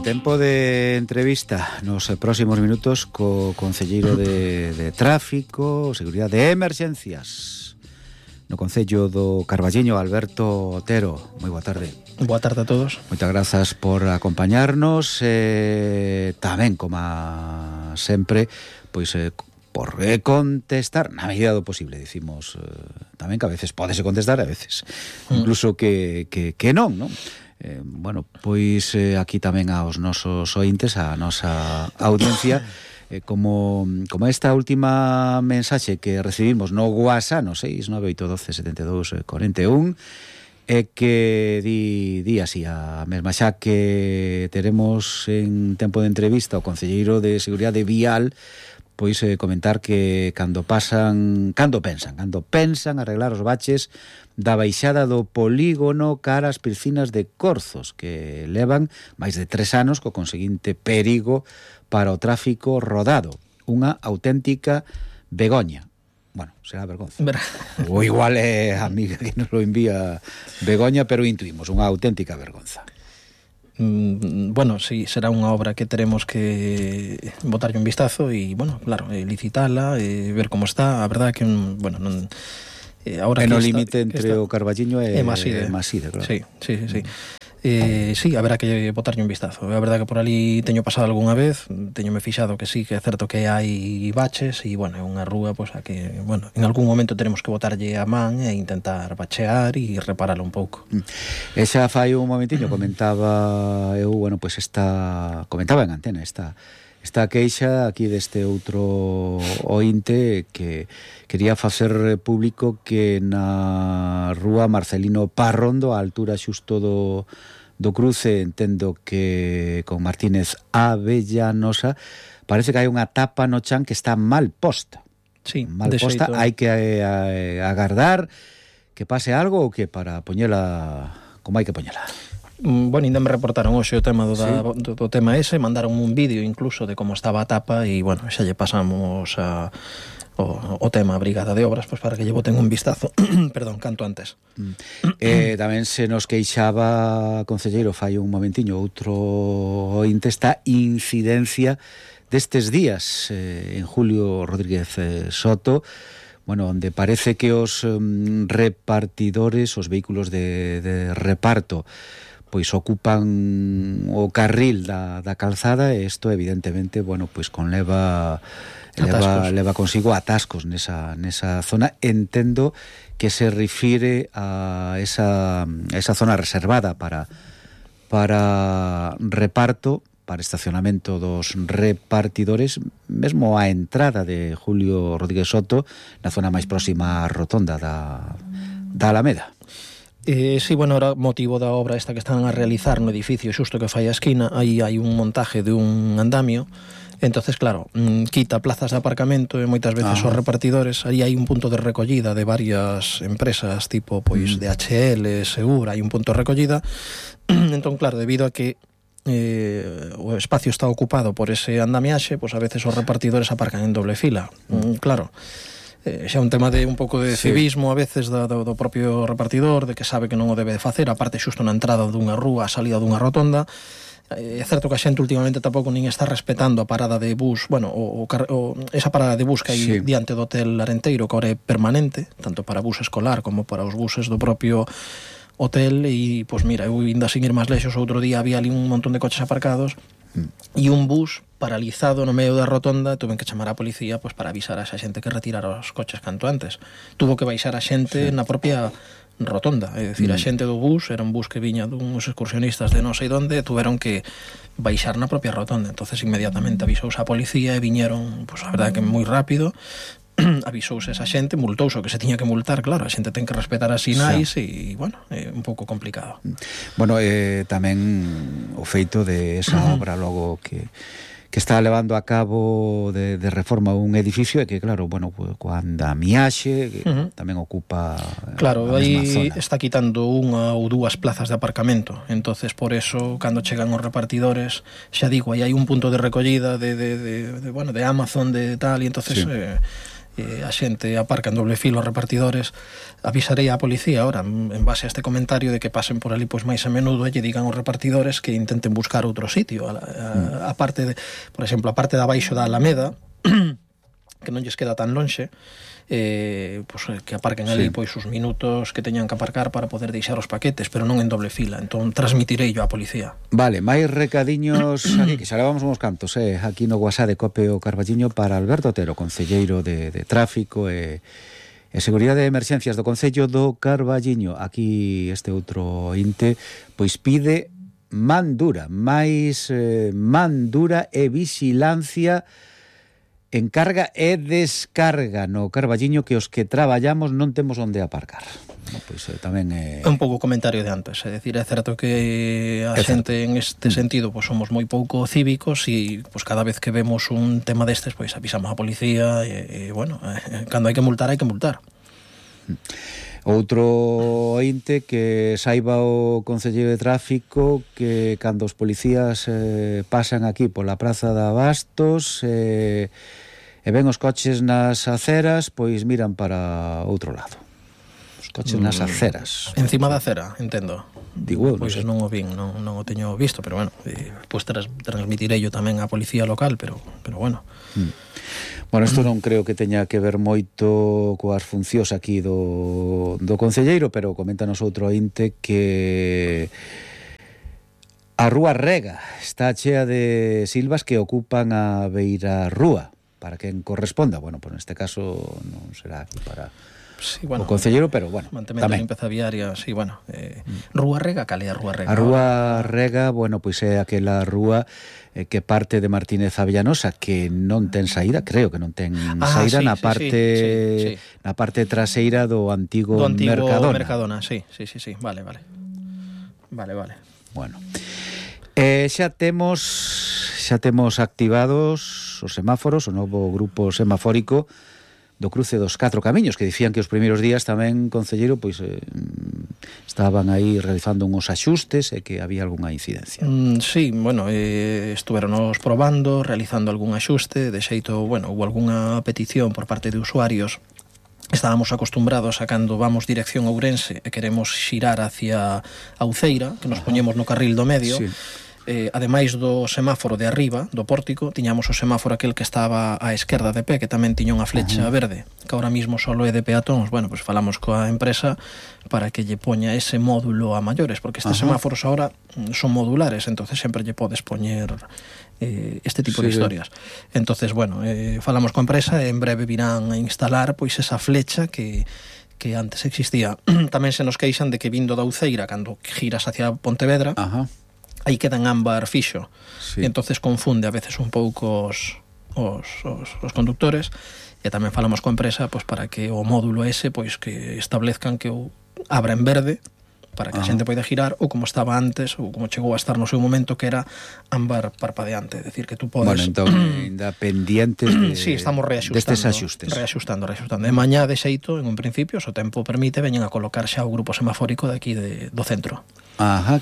Tempo de entrevista nos próximos minutos co concelleiro de Tráfico, Seguridade e Emerxencias no Concello do Carballiño, Alberto Otero. Moi boa tarde. Boa tarde a todos. Moitas grazas por acompañarnos, tamén, como sempre, pois por contestar na medida do posible. Dicimos tamén que a veces pódese contestar, a veces incluso que non, non? Bueno, pois aquí tamén aos nosos ointes, a nosa audiencia, como esta última mensaxe que recibimos no WhatsApp, no 698127241, que di así a mesma, xa que teremos en tempo de entrevista o concelleiro de Seguridade Vial, pois comentar que cando pensan arreglar os baches da baixada do polígono cara ás piscinas de Corzos, que levan máis de 3 anos co conseguinte perigo para o tráfico rodado. Unha auténtica begoña. Bueno, será vergonza. Ou igual é a amiga que nos lo envía begoña, pero intuimos unha auténtica vergonza. Bueno, sí, será unha obra que teremos que botarlle un vistazo e, bueno, claro, licitala, ver como está. A verdade que, bueno, non... Ahora no límite entre o Carballiño e Maside, claro. Sí. Sí, haberá que botarlle un vistazo. A verdade que por ali teño pasado algunha vez, teñome fixado que sí, que é certo que hai baches e, bueno, é unha rúa, pois, a que, bueno, en algún momento teremos que botarlle a man e intentar bachear e reparalo un pouco. E xa fai un momentiño comentaba eu, bueno, pois comentaba en antena esta queixa aquí deste outro ointe que quería facer público que na rúa Marcelino Parrondo, a altura xusto do cruce, entendo que con Martínez Avellanosa, parece que hai unha tapa no chan que está mal posta. Sí, mal posta, hai que agardar que pase algo ou que para poñela como hai que poñela. Bueno, ainda me reportaron hoxe o tema do tema ese, mandaron un vídeo incluso de como estaba a tapa e, bueno, xa lle pasamos o tema a Brigada de Obras, pois para que lle boten un vistazo perdón, canto antes. Tamén se nos queixaba, concelleiro, fai un momentiño outro ointe, esta incidencia destes días en Julio Rodríguez Soto, bueno, onde parece que os repartidores, os vehículos de reparto, pois ocupan o carril da calzada, e isto evidentemente, bueno, pois leva consigo atascos nesa zona. Entendo que se refire a esa zona reservada para reparto, para estacionamento dos repartidores, mesmo a entrada de Julio Rodríguez Soto, na zona máis próxima á rotonda da Alameda. Sí, bueno, era motivo da obra esta que están a realizar no edificio xusto que fai a esquina. Aí hai un montaje de un andamio. Entonces, claro, quita plazas de aparcamento e moitas veces os repartidores. Aí hai un punto de recollida de varias empresas, tipo, pois, DHL, Segura, hai un punto de recollida. Entón, claro, debido a que o espacio está ocupado por ese andamiaxe, pois a veces os repartidores aparcan en doble fila. Claro, xa un tema de un pouco de civismo a veces do propio repartidor, de que sabe que non o debe de facer, aparte xusto na entrada dunha rúa, a salida dunha rotonda. É certo que a xente últimamente tampouco nin está respetando a parada de bus, bueno, esa parada de bus que hai diante do Hotel Arenteiro, que ahora é permanente, tanto para bus escolar como para os buses do propio hotel. E, pois mira, eu ainda sin ir máis lexos, outro día había ali un montón de coches aparcados e un bus paralizado no medio da rotonda. Tuven que chamar a policía, pois, para avisar a esa xente que retirara os coches canto antes. Tuvo que baixar a xente na propia rotonda, é dicir, a xente do bus, era un bus que viña duns excursionistas de non sei donde, tuveron que baixar na propia rotonda. Entonces inmediatamente avisouse a policía e viñeron, pois, a verdade que moi rápido. Avisouse esa xente, multouse o que se tiña que multar, claro, a xente ten que respetar as sinais e, bueno, é un pouco complicado. Bueno, tamén o feito de esa obra logo que está levando a cabo de reforma un edificio, e que, claro, bueno, coa andamiaxe que tamén ocupa claro, a mesma aí zona. está quitando unha ou dúas plazas de aparcamento. Entonces, por eso, cando chegan os repartidores, xa digo, aí hai un punto de recollida de Amazon, de tal, e entonces a xente aparca en doble filo os repartidores, avisarei á policía ahora en base a este comentario de que pasen por ali pois máis a menudo e lle digan aos repartidores que intenten buscar outro sitio, a parte de, por exemplo, a parte de abaixo da Alameda que non lles queda tan lonxe, pois que aparquen ali pois os minutos que teñan que aparcar para poder deixar os paquetes, pero non en doble fila. Entón transmitirei yo á policía. Vale, máis recadiños aquí, que xa levamos uns cantos, aquí no WhatsApp de Cope o Carballiño para Alberto Otero, concelleiro de Tráfico e Seguridade de Emerxencias do Concello do Carballiño. Aquí este outro inte pois pide man dura, máis man dura e vixilancia en carga e descarga no Carballiño, que os que traballamos non temos onde aparcar. Pois tamén é un pouco comentario de antes, é dicir, é certo que a xente en este sentido pois somos moi pouco cívicos e pois cada vez que vemos un tema destes pois avisamos a policía e bueno, cando hai que multar hai que multar. Outro ointe que saiba o Concelleiro de Tráfico que cando os policías pasan aquí pola Praza de Abastos e ven os coches nas aceras, pois miran para outro lado. Os coches nas aceras. Encima da acera, entendo. Digo eu, pois non o vin, non o teño visto, pero bueno, pois transmitirei yo tamén á policía local, pero bueno. Bueno, isto non creo que teña que ver moito coas funcións aquí do concelleiro, pero coméntanos outro ointe que a Rúa Rega está chea de silvas que ocupan a beira rúa. Para quen corresponda, bueno, pues neste caso non será aquí para o concelleiro, pero bueno, mantemento de limpeza viaria, sí, bueno, Rúa Rega, cal é a Rúa Rega? A Rúa Rega, bueno, pois é aquela rúa que parte de Martínez a Villanosa, que non ten saída, creo que non ten saída na parte na parte traseira do antigo Mercadona. Sí, vale. Bueno, xa temos activados os semáforos, o novo grupo semafórico do cruce dos 4 camiños, que dicían que os primeiros días tamén, concelleiro, pois estaban aí realizando uns axustes e que había algunha incidencia. Sí, bueno, estuveronos probando, realizando algún axuste, de xeito, bueno, hubo algunha petición por parte de usuarios. Estábamos acostumbrados a cando vamos dirección a Ourense e queremos xirar hacia a Uceira, que nos poñemos no carril do medio. Sí. Ademais do semáforo de arriba, do pórtico, tiñamos o semáforo aquel que estaba á esquerda de pé, que tamén tiña unha flecha verde, que ahora mismo solo é de peatóns. Bueno, pues falamos coa empresa para que lle poña ese módulo a maiores, porque estes semáforos ahora son modulares, entonces sempre lle podes poñer este tipo de historias. Entonces, bueno, falamos coa empresa e en breve virán a instalar pois esa flecha que antes existía. Tamén se nos queixan de que vindo da Uceira, cando giras hacia Pontevedra, aí queda en ámbar fixo, e entonces confunde a veces un pouco os conductores, e tamén falamos coa empresa pois para que o módulo ese pois que establezcan que o abra en verde para que a xente poida girar, ou como estaba antes, ou como chegou a estar no seu momento, que era ámbar parpadeante, é dicir, que tú podes... Bueno, entón, ainda pendientes de... Sí, estamos destes axustes. Reaxustando. E mañá, de xeito, en un principio, se o tempo permite, veñen a colocar xa o grupo semafórico de aquí do centro.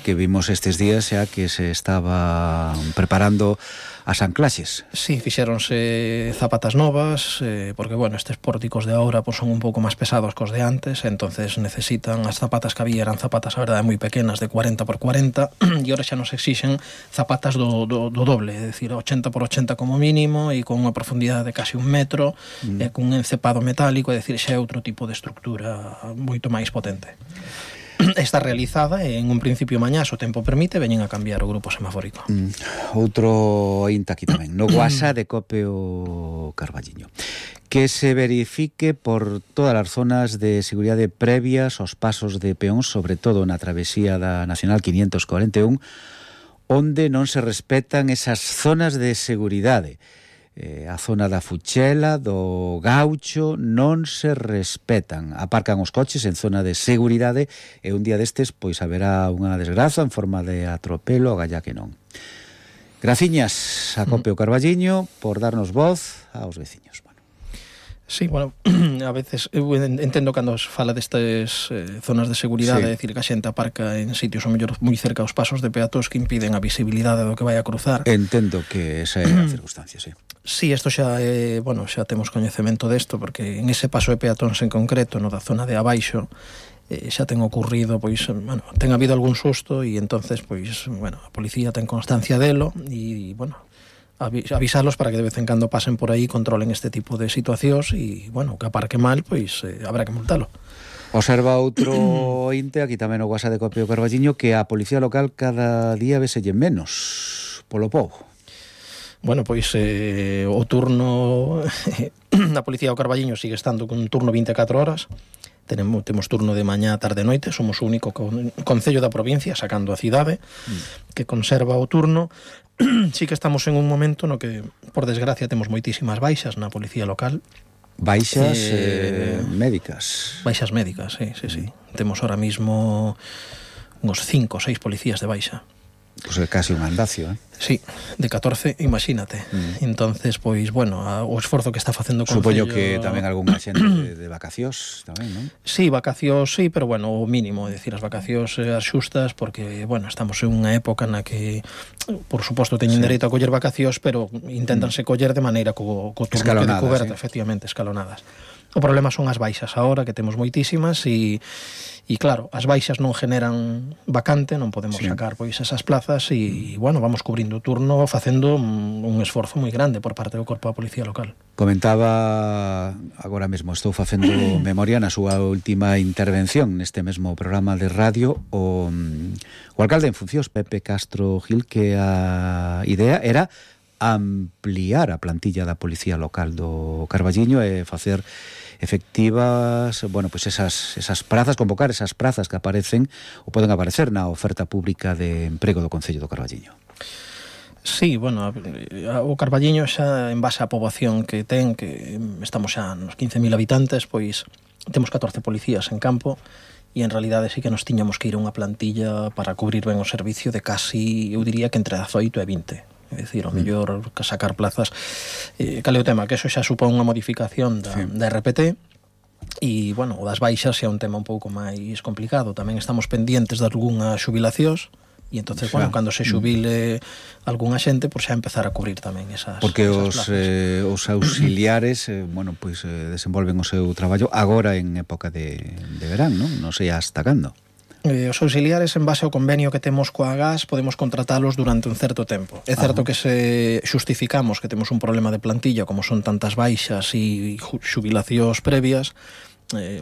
Que vimos estes días xa que se estaba preparando as anclaxes. Sí, fixéronse zapatas novas, porque, bueno, estes pórticos de ahora pues, son un pouco máis pesados cos de antes, entonces necesitan, as zapatas que había eran zapatas, a verdade, moi pequenas, de 40 por 40, e ahora xa nos exixen zapatas do doble, é dicir, 80 por 80 como mínimo, e con unha profundidade de casi 1 metro, e con un encepado metálico, é dicir, xa é outro tipo de estructura moito máis potente. Está realizada e en un principio mañá, se o tempo permite, veñen a cambiar o grupo semafórico. Outro inta aquí tamén, no WhatsApp de Cope o Carballiño, que se verifique por todas as zonas de seguridade previas aos pasos de peóns, sobre todo na travesía da Nacional 541, onde non se respetan esas zonas de seguridade. A zona da Fuchela, do Gaucho, non se respetan. Aparcan os coches en zona de seguridade e un día destes pois haberá unha desgraza en forma de atropelo, agalla que non. Graciñas a Cope o Carballiño por darnos voz aos veciños. Sí, bueno, a veces eu entendo cando se fala destas zonas de seguridade, é dicir, que a xente aparca en sitios o mellor moi cerca aos pasos de peatóns que impiden a visibilidade do que vai a cruzar. Entendo que esa é a circunstancia, sí. Sí, isto xa bueno, xa temos coñecemento desto, porque en ese paso de peatóns en concreto, no da zona de abaixo, xa ten ocurrido, pois, bueno, ten habido algún susto e entonces, pois, bueno, a policía ten constancia delo e, bueno, avisalos para que de vez en cando pasen por aí, controlen este tipo de situacións e, bueno, que aparque mal, pois habrá que multalo. Observa outro inte, aquí tamén o WhatsApp de Copio Carballiño, que a policía local cada día veselle menos polo pobo. Bueno, pois o turno na policía do Carballiño sigue estando con un turno 24 horas. Temos turno de mañá, tarde e noite. Somos o único concello da provincia, sacando a cidade, que conserva o turno. Sí que estamos en un momento no que, por desgracia, temos moitísimas baixas na policía local. Baixas médicas. Baixas médicas, sí. Temos ahora mismo uns 5 ou 6 policías de baixa. Pois é casi un andacio, Sí, de 14, imagínate. Entonces, pois, bueno, o esforzo que está facendo o Concello... Supoño que tamén algunha xente de vacacións tamén, non? Sí, vacacións, sí, pero bueno, o mínimo, é dicir, as vacacións as xustas, porque, bueno, estamos en unha época na que, por suposto, teñen dereito a coller vacacións, pero inténtanse coller de maneira co turno que de coberta, efectivamente, escalonadas. O problema son as baixas agora, que temos moitísimas, e claro, as baixas non generan vacante, non podemos sacar pois esas plazas, e, bueno, vamos cubrindo o turno facendo un esforzo moi grande por parte do Corpo da Policía Local. Comentaba, agora mesmo estou facendo memoria na súa última intervención neste mesmo programa de radio, o alcalde en funcións, Pepe Castro Gil, que a idea era ampliar a plantilla da Policía Local do Carballiño e facer efectivas, bueno, pues esas prazas, convocar esas prazas que aparecen ou poden aparecer na oferta pública de emprego do Concello do Carballiño. Sí, bueno, o Carballiño xa en base á poboación que ten, que estamos xa nos 15.000 habitantes, pois temos 14 policías en campo, e en realidade sí que nos tiñamos que ir a unha plantilla para cubrir ben o servicio de casi, eu diría que entre 18 e 20. É dicir, o mellor que sacar plazas. Cal é o tema? Que eso xa supón unha modificación da RPT, e, bueno, o das baixas xa é un tema un pouco máis complicado. Tamén estamos pendientes de algunhas xubilacións, e entonces, bueno, cando se xubile algunha xente, por xa empezar a cubrir tamén esas porque plazas. Os auxiliares, bueno, pois desenvolven o seu traballo agora en época de verán, non? Non sei hasta cando. Os auxiliares, en base ao convenio que temos coa GAS, podemos contratalos durante un certo tempo. É certo que se xustificamos que temos un problema de plantilla, como son tantas baixas e xubilacións previas,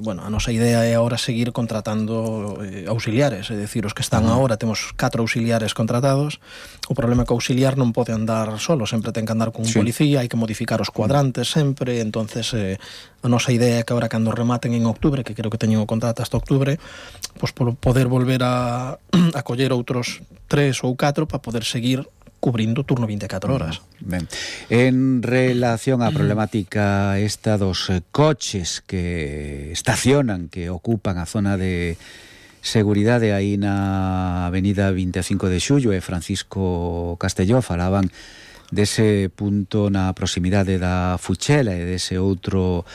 bueno, a nosa idea é agora seguir contratando auxiliares, é dicir, os que están agora, temos 4 auxiliares contratados. O problema é que o auxiliar non pode andar solo, sempre ten que andar con un policía, hai que modificar os cuadrantes sempre, entonces a nosa idea é que agora cando rematen en octubre, que creo que teñen o contrato hasta octubre, pois poder volver a coller outros 3 ou 4 para poder seguir cubrindo turno 24 horas. Ben. En relación á problemática esta dos coches que estacionan, que ocupan a zona de seguridade aí na avenida 25 de Xullo e Francisco Castelló, falaban dese punto na proximidade da Fuchela e dese outro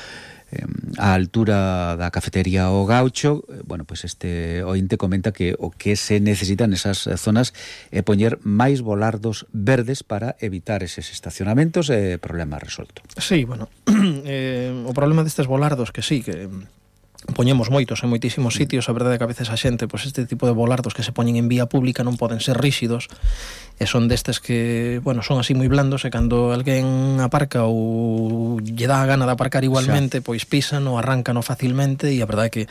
a altura da cafetería O Gaucho. Bueno, pois este ointe comenta que o que se necesitan nesas zonas é poñer máis volardos verdes para evitar eses estacionamentos e problema resolto. Sí, bueno, o problema destes volardos que sí, que poñemos moitos en moitísimos sitios, a verdade é que a veces a xente, pois este tipo de volardos que se poñen en vía pública non poden ser ríxidos, e son destes que, bueno, son así moi blandos, e cando alguén aparca ou lle dá a gana de aparcar igualmente, pois pisan ou arrancan facilmente, e a verdade é que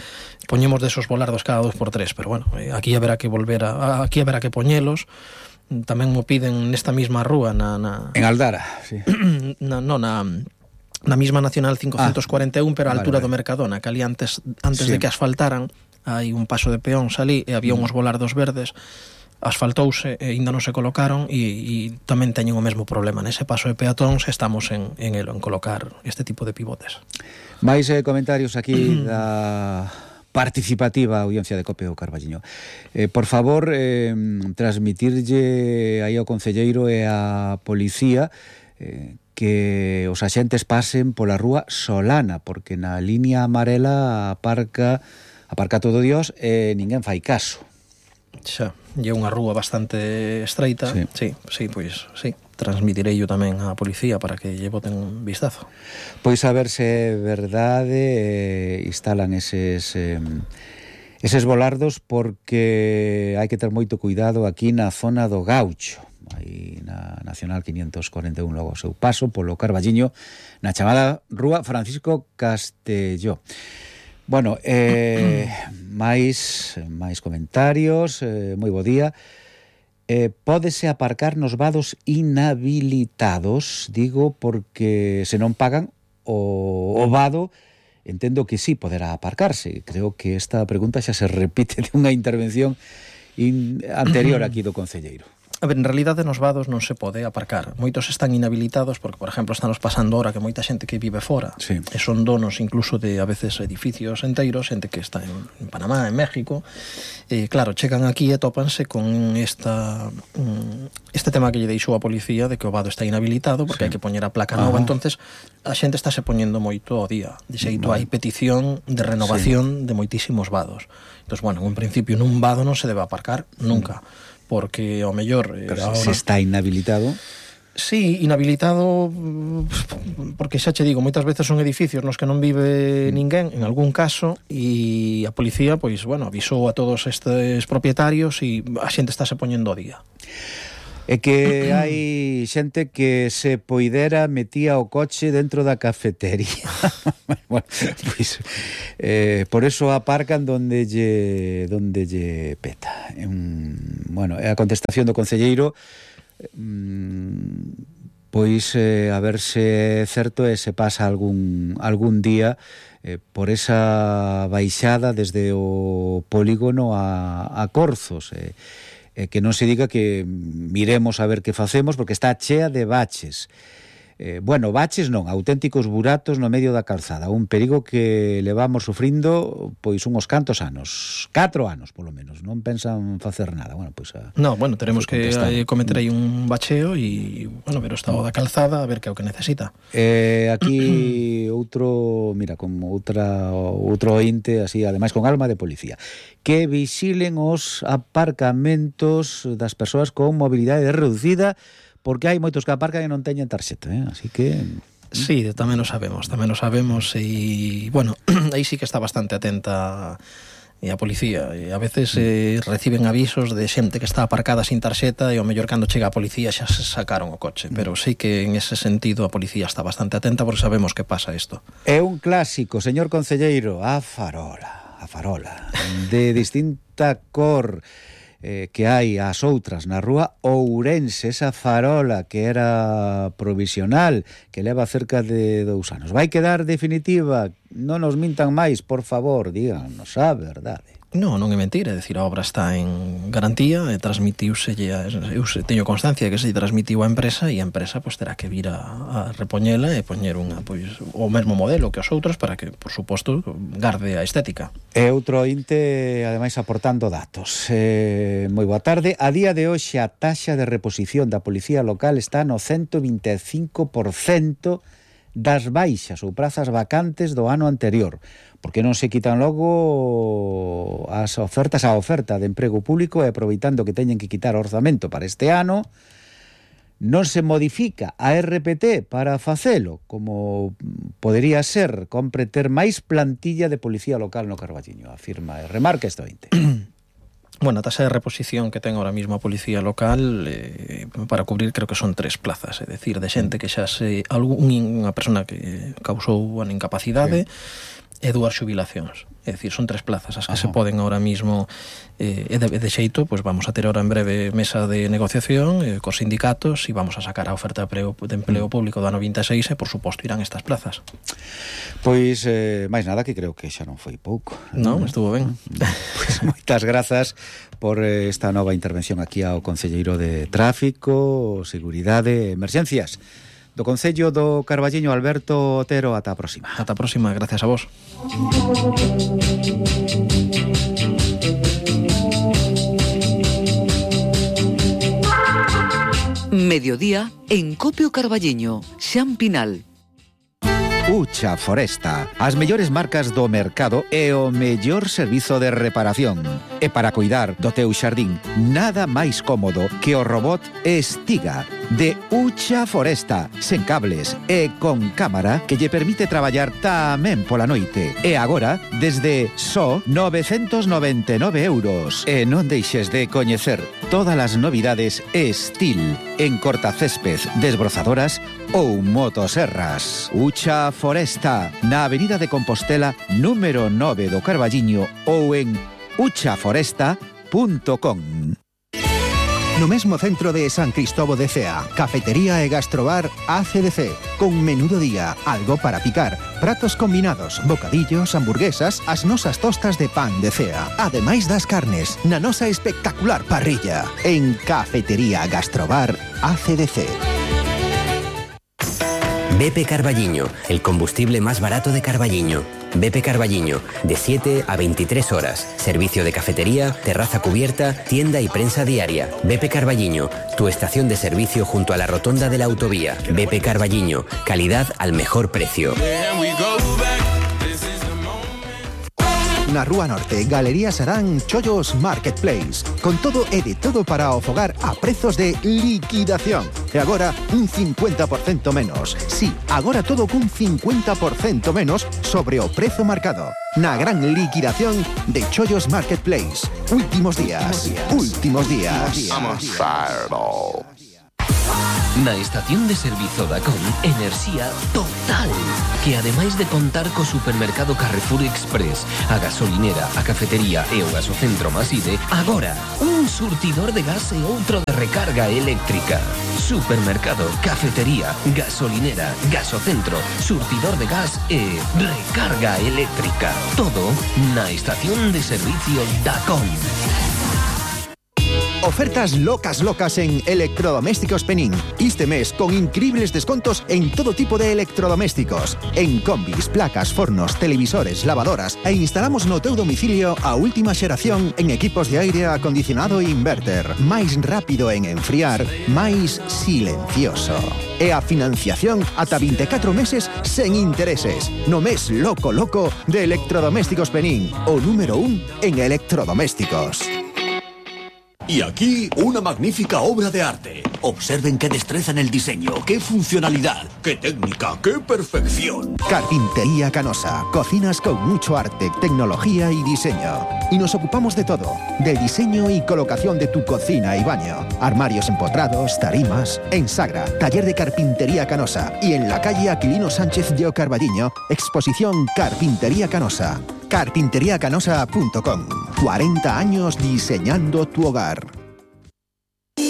poñemos desos volardos cada 2x3, pero bueno, aquí haberá que aquí haberá que poñelos. Tamén mo piden nesta mesma rúa en Aldara, sí. Na mesma Nacional 541, pero a altura do Mercadona, que ali antes de que asfaltaran, hai un paso de peóns ali, e había uns volardos verdes, asfaltouse e ainda non se colocaron, e tamén teñen o mesmo problema. Nese paso de peatóns estamos en colocar este tipo de pivotes. Mais comentarios aquí da participativa audiencia de Copio Carballiño. Por favor, transmitirlle aí ao concelleiro e á policía que os axentes pasen pola rúa Solana, porque na línea amarela aparca todo Dios e ninguén fai caso. Xa, e unha rúa bastante estreita. Sí, pois sí, transmitirei yo tamén á policía para que lle boten un vistazo. Pois a ver se é verdade, instalan eses volardos, porque hai que ter moito cuidado aquí na zona do Gaucho, aí na Nacional 541, logo ao seu paso polo Carballiño, na chamada Rúa Francisco Castelló. Bueno, máis comentarios, moi bo día. Pódese aparcar nos vados inhabilitados, digo, porque se non pagan o vado, entendo que sí poderá aparcarse. Creo que esta pregunta xa se repite de unha intervención anterior aquí do concelleiro. A ver, en realidade nos vados non se pode aparcar. Moitos están inhabilitados porque, por exemplo, estamos pasando ahora que moita xente que vive fora, sí, e son donos incluso de, a veces, edificios enteiros, xente que está en Panamá, en México, claro, chegan aquí e tópanse con este tema que lle deixou a policía de que o vado está inhabilitado porque sí, hai que poñer a placa nova. Entonces a xente está se poñendo moito ao día. De xeito, hai petición de renovación, sí, de moitísimos vados. Entón, bueno, en principio nun vado non se debe aparcar nunca, porque ao mellor... Pero se está inhabilitado... Sí, inhabilitado, porque xa che digo, moitas veces son edificios nos que non vive ninguén, en algún caso, e a policía, pois, bueno, avisou a todos estes propietarios e a xente está se poñendo ao día. É que hai xente que se poidera metía o coche dentro da cafetería. Bueno, pois, por eso aparcan donde lle peta. Bueno, é a contestación do concelleiro, pois a ver se é certo e se pasa algún día por esa baixada desde o polígono a Corzos, que non se diga que miremos a ver que facemos, porque está chea de baches. Bueno, baches non, auténticos buratos no medio da calzada, un perigo que levamos sufrindo pois unhos cantos anos, 4 anos polo menos, non pensan facer nada. Bueno, pois teremos que cometer aí un bacheo e, bueno, ver o estado da calzada, a ver que é o que necesita. Aquí outro, mira, como outro ointe, así, ademais con alma de policía, que vixilen os aparcamentos das persoas con mobilidade reducida, porque hai moitos que aparcan e non teñen tarxeta, así que... Sí, tamén o sabemos e, bueno, aí sí que está bastante atenta a policía, e a veces reciben avisos de xente que está aparcada sin tarxeta e ao mellor cando chega a policía xa se sacaron o coche, pero sí que en ese sentido a policía está bastante atenta porque sabemos que pasa isto. É un clásico, señor concelleiro, a farola, de distinta cor, que hai as outras na rúa Ourense, esa farola que era provisional, que leva cerca de 2 anos. Vai quedar definitiva? Non nos mintan máis, por favor, díganos a verdade. Non é mentira, é dicir, a obra está en garantía e transmitiuse, eu teño constancia que se transmitiu á empresa e a empresa pois terá que vir a repoñela e poñer o mesmo modelo que os outros para que, por suposto, garde a estética. E outro ointe, ademais, aportando datos. Moi boa tarde. A día de hoxe a taxa de reposición da policía local está no 125% das baixas ou prazas vacantes do ano anterior, porque non se quitan logo as ofertas, a oferta de emprego público, e aproveitando que teñen que quitar orzamento para este ano, non se modifica a RPT para facelo, como podería ser, compre ter máis plantilla de policía local no Carballiño, afirma e remarca este ointe. Bueno, a tasa de reposición que ten ahora mismo a policía local para cubrir creo que son 3 plazas, é dicir, de xente que xa unha persona que causou unha incapacidade, e 2 xubilacións. É dicir, son 3 plazas as que se poden ahora mismo, e de xeito, pois vamos a ter ahora en breve mesa de negociación cos sindicatos e vamos a sacar a oferta de empleo público do ano 26 e, por suposto, irán estas plazas. Pois, máis nada, que creo que xa non foi pouco. Non, estuvo ben. Pois moitas grazas por esta nova intervención aquí ao concelleiro de Tráfico, Seguridade e Emerxencias do Concello do Carballiño, Alberto Otero. Ata a próxima. Ata a próxima, gracias a vos. Mediodía en Copio Carballiño, Xampinal. Ucha Foresta, as mellores marcas do mercado e o mellor servizo de reparación. E para cuidar do teu xardín, nada máis cómodo que o robot Estiga de Ucha Foresta, sen cables e con cámara que lle permite traballar tamén pola noite. E agora, desde só 999 €. E non deixes de coñecer todas as novidades Estil en cortacésped, desbrozadoras ou motoserras. Ucha Foresta, na Avenida de Compostela, número 9 do Carballiño ou en uchaforesta.com. No mesmo centro de San Cristóbal de Cea, cafetería e gastrobar ACDC, con menú do día, algo para picar, pratos combinados, bocadillos, hamburguesas, as nosas tostas de pan de Cea, ademais das carnes, na nosa espectacular parrilla, en Cafetería Gastrobar ACDC. BP Carballiño, el combustible más barato de Carballiño. BP Carballiño, de 7 a 23 horas. Servicio de cafetería, terraza cubierta, tienda y prensa diaria. BP Carballiño, tu estación de servicio junto a la rotonda de la autovía. BP Carballiño, calidad al mejor precio. Na Rúa Norte, Galería Sarán, Chollos Marketplace. Con todo e de todo para o fogar a prezos de liquidación. E agora, un 50% menos. Sí, agora todo cun 50% menos sobre o prezo marcado. Na gran liquidación de Chollos Marketplace. Últimos días. Últimos días. Na estación de servizo Dacom, enerxía total, que ademais de contar co supermercado Carrefour Express, a gasolinera, a cafetería e o gasocentro Maside, agora un surtidor de gas e outro de recarga eléctrica. Supermercado, cafetería, gasolinera, gasocentro, surtidor de gas e recarga eléctrica. Todo na estación de servicio Dacom. Ofertas locas en Electrodomésticos Penín. Este mes con increíbles descontos en todo tipo de electrodomésticos. En combis, placas, fornos, televisores, lavadoras e instalamos no teu domicilio a última xeración en equipos de aire acondicionado e inverter. Máis rápido en enfriar, máis silencioso. E a financiación ata 24 meses sen intereses. No mes loco de Electrodomésticos Penín. O número 1 en electrodomésticos. Y aquí, una magnífica obra de arte. Observen qué destreza en el diseño, qué funcionalidad, qué técnica, qué perfección. Carpintería Canosa. Cocinas con mucho arte, tecnología y diseño. Y nos ocupamos de todo. Del diseño y colocación de tu cocina y baño. Armarios empotrados, tarimas. En Sagra, taller de Carpintería Canosa. Y en la calle Aquilino Sánchez de Carballiño, exposición Carpintería Canosa. Carpinteriacanosa.com. 40 años diseñando tu hogar.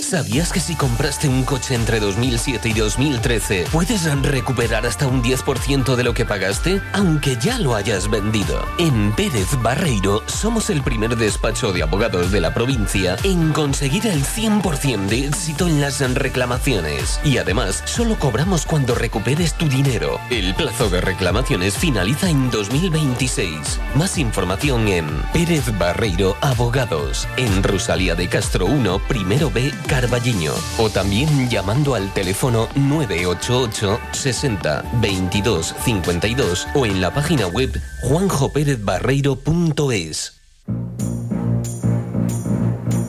¿Sabías que si compraste un coche entre 2007 y 2013 puedes recuperar hasta un 10% de lo que pagaste, aunque ya lo hayas vendido? En Pérez Barreiro somos el primer despacho de abogados de la provincia en conseguir el 100% de éxito en las reclamaciones. Y además, solo cobramos cuando recuperes tu dinero. El plazo de reclamaciones finaliza en 2026. Más información en Pérez Barreiro Abogados, en Rosalía de Castro 1, primero B, Carballiño, o también llamando al teléfono 988 60 22 52 o en la página web juanjoperezbarreiro.es.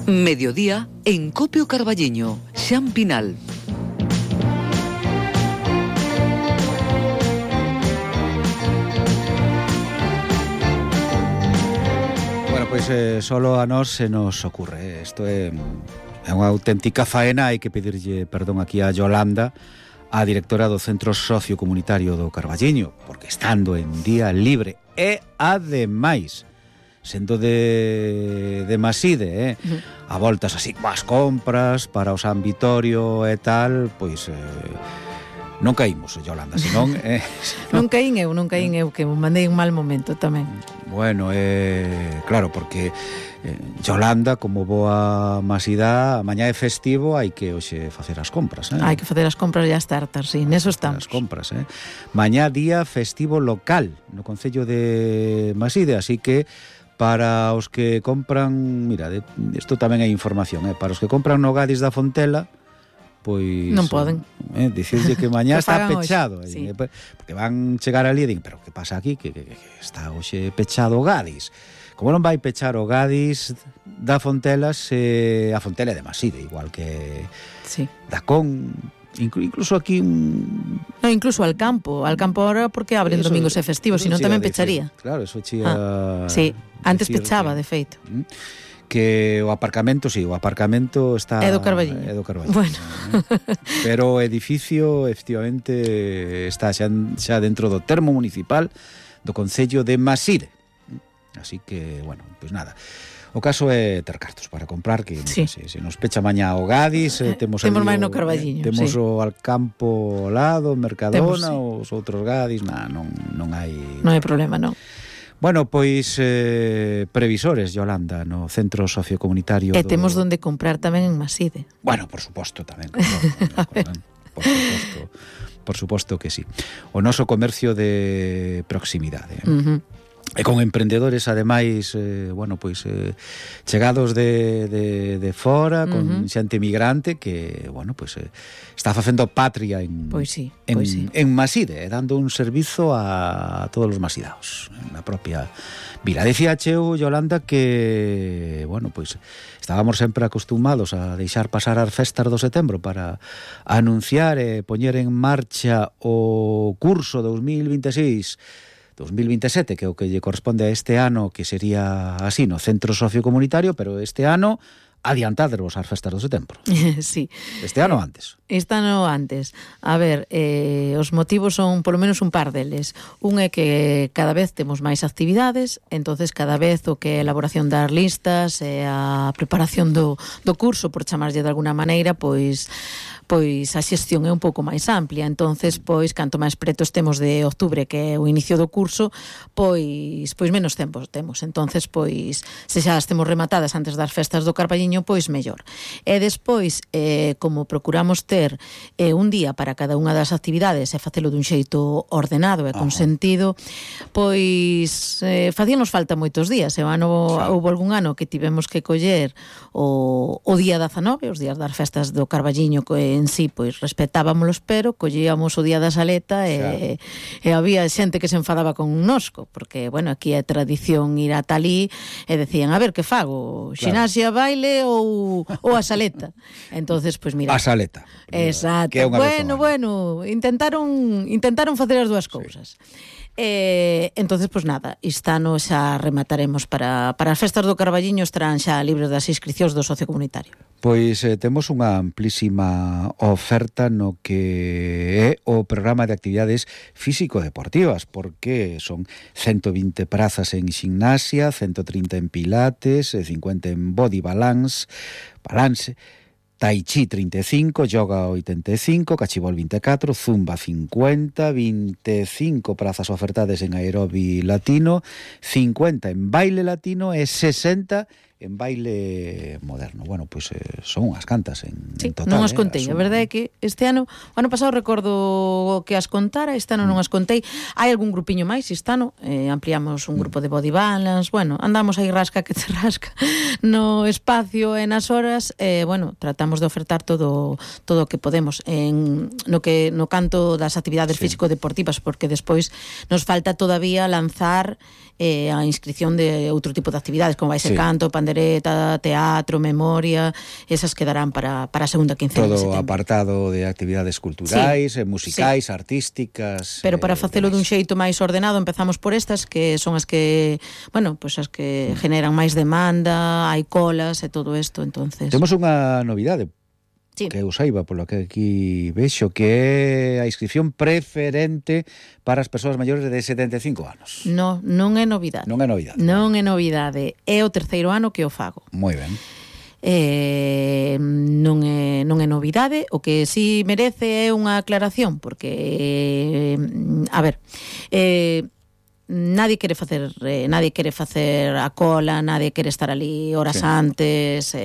Mediodía en Copio Carballiño, Xampinal. Bueno, pues solo a nós se nos ocurre. Isto é unha auténtica faena, hai que pedirlle perdón aquí a Yolanda, a directora do Centro Sociocomunitario do Carballiño, porque estando en día libre e ademais sendo de Maside, a voltas así coas compras para o San Vitorio e tal, pois non caímos, Yolanda, senón non caín eu, que mandei un mal momento tamén. Bueno, claro, porque Yolanda, como boa masidá, mañá é festivo, hai que hoxe facer as compras, Hai que facer as compras e as tartas, sí, neso estamos. As compras, Mañá día festivo local no concello de Maside, así que para os que compran, mira, isto tamén hai información, para os que compran no Gadis da Fontela, pois non poden. Dicirlle que mañá Que está fagan pechado, hoxe, sí. porque van chegar ali e din, pero que pasa aquí que está hoxe pechado o Gadis. Como non vai pechar o Gadis da Fontelas, a Fontela é de Maside, igual que Sí. Dacón, incluso aquí No, incluso al campo ahora porque abren Eso- domingos e festivos, eso senón chía tamén a dicir. pecharía. Claro, eso chía. Sí, antes dicir pechaba, que- de feito. Que o aparcamento está É do Carballiño. é do Carballiño. Bueno. Pero o edificio efectivamente está xa dentro do termo municipal do concello de Maside. Así que, bueno, pois nada. O caso é ter cartos para comprar, que Sí. se nos pecha mañá o Gadis, temos Temos ali máis no Carballiño, temos sí. o Alcampo ao lado, Mercadona, Temos, sí. os outros Gadis, non hai. Non hai problema, non. Bueno, pois previsores, Yolanda, no centro sociocomunitario E temos donde comprar tamén en Maside. Bueno, por suposto tamén. Por suposto que sí. O noso comercio de proximidade. E con emprendedores, ademais, bueno, pois chegados de fora, con xente migrante que, bueno, pois está facendo patria en Pois sí, en Maside, dando un servizo a todos os masidaos na propia vila. Decía eu, Yolanda, que, bueno, pois estábamos sempre acostumados a deixar pasar as festas do setembro para anunciar e poñer en marcha o curso 2026-2027, que é o que lle corresponde a este ano, que sería así, no centro sociocomunitario, pero este ano adiantadevos as festas do setembro. Sí. Este ano antes. Este ano antes. A ver, os motivos son polo menos un par deles. Un é que cada vez temos máis actividades, entonces cada vez o que é a elaboración das listas e a preparación do curso, por chamarlle de alguna maneira, pois a xestión é un pouco máis amplia. Entonces, pois, canto máis pretos temos de octubre, que é o inicio do curso, pois menos tempo temos. Entonces, pois, se xa as temos rematadas antes das festas do Carballiño, pois mellor. E despois, como procuramos ter un día para cada unha das actividades e facelo dun xeito ordenado e con sentido, pois facíanos falta moitos días. E o ano, houve algún ano que tivemos que coller o día 19, os días das festas do Carballiño, que en sí, pois, respetábamos, pero collíamos o día da Saleta e había xente que se enfadaba con nosco, porque, bueno, aquí é tradición ir a talí e decían, a ver, que fago? Xinasia, baile ou a Saleta? Entonces, pois, mira... A Saleta. Exacto. Que é unha vez ao ano. Bueno, intentaron facer as dúas cousas. Entonces, pois nada, este ano xa remataremos para as festas do Carballiño, estarán xa libres das inscricións do socio comunitario. Pois temos unha amplísima oferta no que é o programa de actividades físico-deportivas, porque son 120 prazas en gimnasia, 130 en pilates, 50 en body balance, Tai Chi 35, Yoga 85, Cachibol 24, Zumba 50, 25 prazas ofertades en aerobi latino, 50 en baile latino e 60 en baile moderno. Bueno, pois son unhas cantas en total. Non as contei, a verdade é que este ano, o ano pasado recordo que as contara, este ano non as contei. Hai algún grupiño máis, este ano ampliamos un grupo de body balance, bueno, andamos aí rasca que te rasca no espacio e nas horas, bueno, tratamos de ofertar todo o que podemos no canto das actividades físico-deportivas, porque despois nos falta todavía lanzar a inscripción de outro tipo de actividades, como vai ser canto, pandereta, teatro, memoria, esas quedarán para a segunda quincena de setembro. Todo apartado de actividades culturais, musicais, artísticas. Pero para facelo dun xeito máis ordenado, empezamos por estas, que son as que, bueno, pois as que generan máis demanda, hai colas e todo isto, entonces. Temos unha novidade. Sí. Que eu saiba, polo que aquí vexo, que é a inscripción preferente para as persoas maiores de 75 anos. Non é novidade. Non é novidade. Non é novidade. É o terceiro ano que o fago. Moi ben. Non é novidade. O que si merece é unha aclaración, porque, a ver, nadie quere facer a cola, nadie quere estar ali horas antes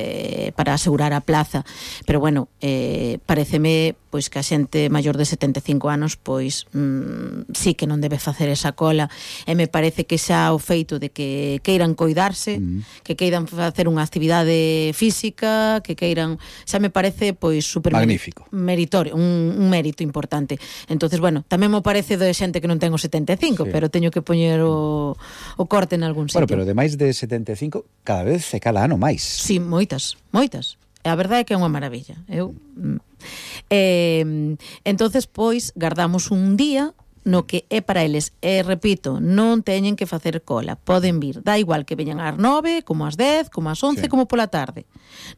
para asegurar a plaza, pero bueno, pareceme pois que a xente maior de 75 anos pois sí que non debe facer esa cola, e me parece que xa o feito de que queiran coidarse, que queiran facer unha actividade física, que queiran, xa me parece pois super magnífico, meritorio, un mérito importante. Entonces, bueno, tamén me parece de xente que non ten os 75, pero teño que poñer o corte en algún sitio. Bueno, pero de máis de 75 cada vez e cada ano máis. Sí, moitas. A verdade é que é unha maravilla. Entonces, pois, guardamos un día no que é para eles, repito, non teñen que facer cola, poden vir, dá igual que veñan ás 9, como ás 10, como ás 11, como pola tarde.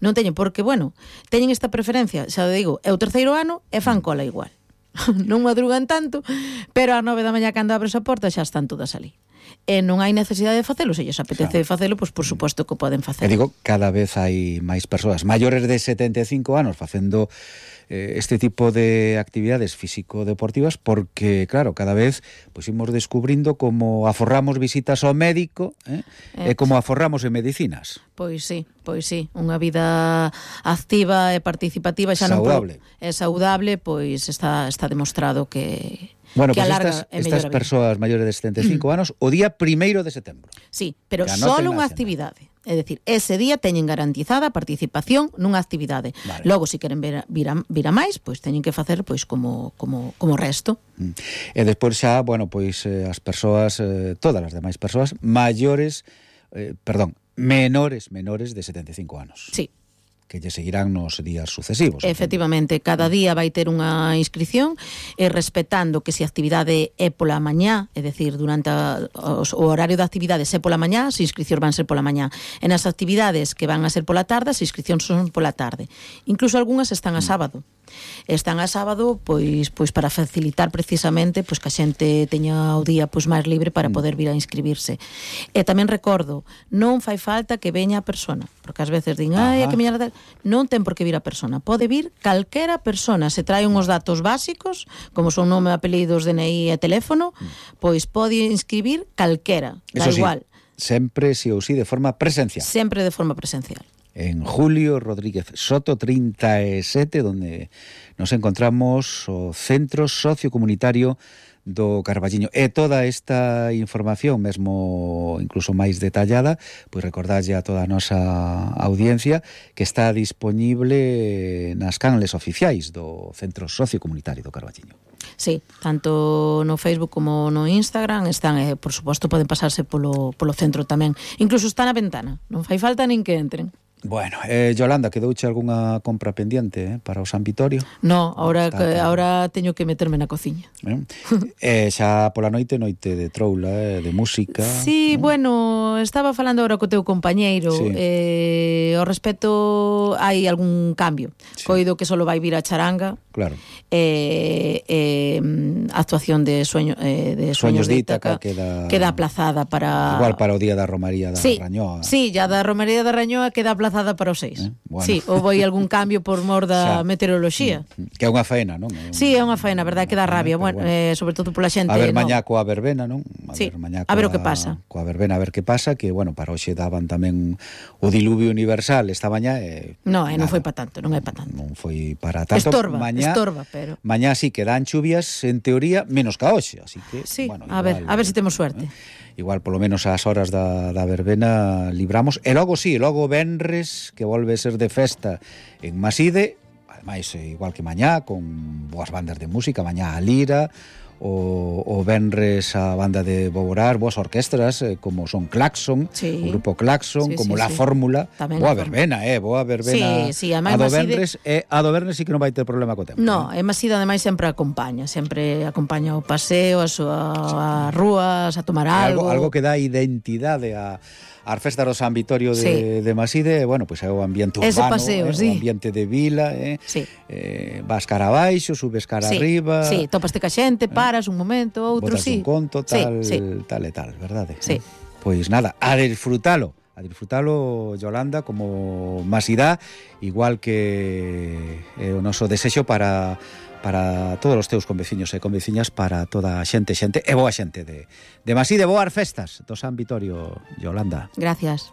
Non teñen, porque, bueno, teñen esta preferencia, xa digo, é o terceiro ano e fan cola igual. Non madrugan tanto, pero ás 9 da mañá cando abres a porta xa están todas ali. E non hai necesidade de facelo, se lles apetece facelo, pois por suposto que poden facer. E digo, cada vez hai máis persoas maiores de 75 anos facendo este tipo de actividades físico-deportivas, porque, claro, cada vez pois imos descubrindo como aforramos visitas ao médico e como aforramos en medicinas. Pois sí, unha vida activa e participativa xa saudable. É saudable, pois está demostrado que bueno, que pues alarga estas persoas maiores de 75 anos o día 1º de setembro. Sí, pero só unha actividade. É dicir, ese día teñen garantizada a participación nunha actividade. Vale. Logo, se queren vir a máis, pois teñen que facer pois como resto. E despois xa, bueno, pois as persoas, todas as demais persoas menores de 75 anos. Sí. Que lle seguirán nos días sucesivos. Efectivamente, cada día vai ter unha inscripción e respetando que se a actividade é pola mañá, é dicir, durante o horario da actividade se pola mañá, as inscripcións van ser pola mañá. E nas actividades que van a ser pola tarde, as inscripcións son pola tarde. Incluso algunhas están a sábado. Están a sábado pois para facilitar precisamente pois que a xente teña o día pois máis libre para poder vir a inscribirse. E tamén recordo, non fai falta que veña a persona, porque ás veces din, é que miña non ten por que vir a persona, pode vir calquera persona, se trae uns datos básicos, como son nome, apelidos, DNI e teléfono, pois pode inscribir calquera, da igual. Sempre, si ou si, de forma presencial. Sempre de forma presencial. En Julio Rodríguez Soto 37, donde nos encontramos o Centro Sociocomunitario do Carballiño. E toda esta información, mesmo incluso máis detallada, pois recordalle a toda a nosa audiencia que está disponible nas canles oficiais do Centro Sociocomunitario do Carballiño. Sí, tanto no Facebook como no Instagram están, por suposto, poden pasarse polo centro tamén. Incluso está na ventana, non fai falta nin que entren. Bueno, Yolanda, quedouche algunha compra pendiente para o San Vitorio? No, ahora teño que meterme na cociña. Xa pola noite de troula, de música. Sí, bueno, estaba falando agora co teu compañeiro, ao respecto hai algún cambio. Sí. Coido que solo vai vir a charanga. Claro. Actuación de Sueños de Ítaca queda aplazada para... Igual para o día da Romaría da Rañoa. Sí, ya da Romaría da Rañoa queda aplazada para o 6. Bueno. Sí, houve algún cambio por mor da meteoroloxía. Que é unha faena, non? Sí, é unha faena, verdade, que dá rabia, bueno, sobre todo pola xente. A ver mañá coa verbena, non? A ver o que pasa. Coa verbena, a ver que pasa, que, bueno, para hoxe daban tamén o diluvio universal esta mañá. Non foi para tanto, non é para tanto. Non foi para tanto. Estorba, pero... Mañá sí que dan chuvias, en teoría, menos que hoxe, así que... Sí, bueno, a ver se temos suerte. Igual, polo menos ás horas da verbena libramos. E logo venres, que volve a ser de festa en Maside, ademais, igual que mañá, con boas bandas de música, mañá a Lira, o venres a banda de Boborar, boas orquestras, como son Claxon, o grupo Claxon, como La Fórmula. Boa verbena, boa verbena. Sí, a do venres, a do venres sí que non vai ter problema co tempo. No, e Maside ademais sempre acompaña o paseo, as rúas, a tomar algo. Algo que dá identidade ás festas do San Vitorio de Maside, bueno, pois é o ambiente urbano, paseo, o ambiente de vila, vas cara abaixo, subes cara arriba. Sí, topaste ca xente, paras un momento, outro, botas un conto, tal e tal, verdade? Sí. Pois nada, a disfrutalo, Yolanda, como Masida, igual que o noso desexo para para todos os teus conveciños e conveciñas, para toda a xente e boa xente de Masí, de boas festas do San Vitorio, Yolanda. Gracias.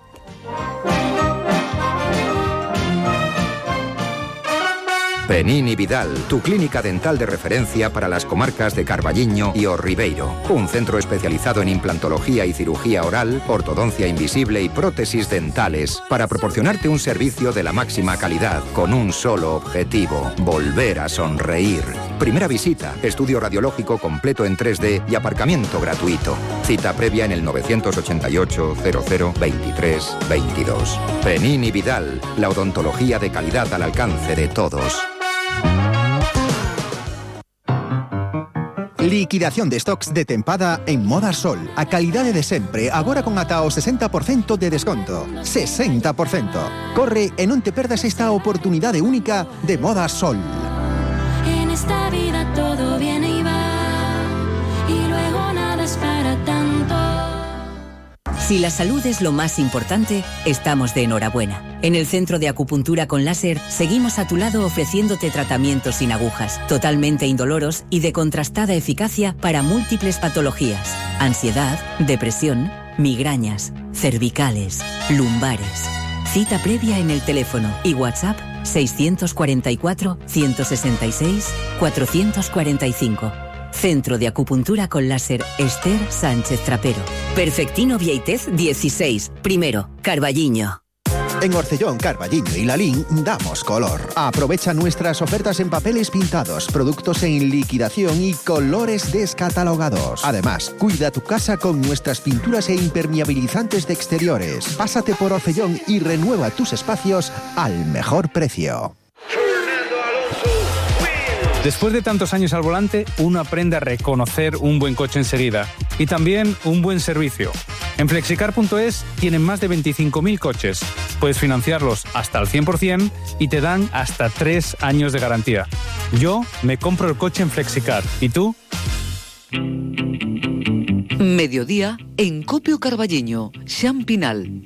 Penín y Vidal, tu clínica dental de referencia para las comarcas de Carballiño y O Ribeiro. Un centro especializado en implantología y cirugía oral, ortodoncia invisible y prótesis dentales, para proporcionarte un servicio de la máxima calidad, con un solo objetivo: volver a sonreír. Primera visita, estudio radiológico completo en 3D y aparcamiento gratuito. Cita previa en el 988 00 23 22. Penín y Vidal, la odontología de calidad al alcance de todos. Liquidación de stocks de tempada en Moda Sol. A calidade de sempre, agora con ata o 60% de desconto. 60%. Corre e non te perdas esta oportunidade única de Moda Sol. En esta vida todo viene y va, y luego nada es para tanto. Si la salud es lo más importante, estamos de enhorabuena. En el Centro de Acupuntura con Láser seguimos a tu lado ofreciéndote tratamientos sin agujas, totalmente indoloros y de contrastada eficacia para múltiples patologías: ansiedad, depresión, migrañas, cervicales, lumbares. Cita previa en el teléfono y WhatsApp 644 166 445. Centro de Acupuntura con Láser Esther Sánchez Trapero. Perfectino Vieitez 16, primero, Carballiño. En Orcellón, Carballiño y Lalín damos color. Aprovecha nuestras ofertas en papeles pintados, productos en liquidación y colores descatalogados. Además, cuida tu casa con nuestras pinturas e impermeabilizantes de exteriores. Pásate por Orcellón y renueva tus espacios al mejor precio. Después de tantos años al volante, uno aprende a reconocer un buen coche enseguida y también un buen servicio. En Flexicar.es tienen más de 25.000 coches. Puedes financiarlos hasta al 100% y te dan hasta 3 años de garantía. Yo me compro el coche en Flexicar. ¿Y tú? Mediodía en Copio Carballiño, Xan Pinal.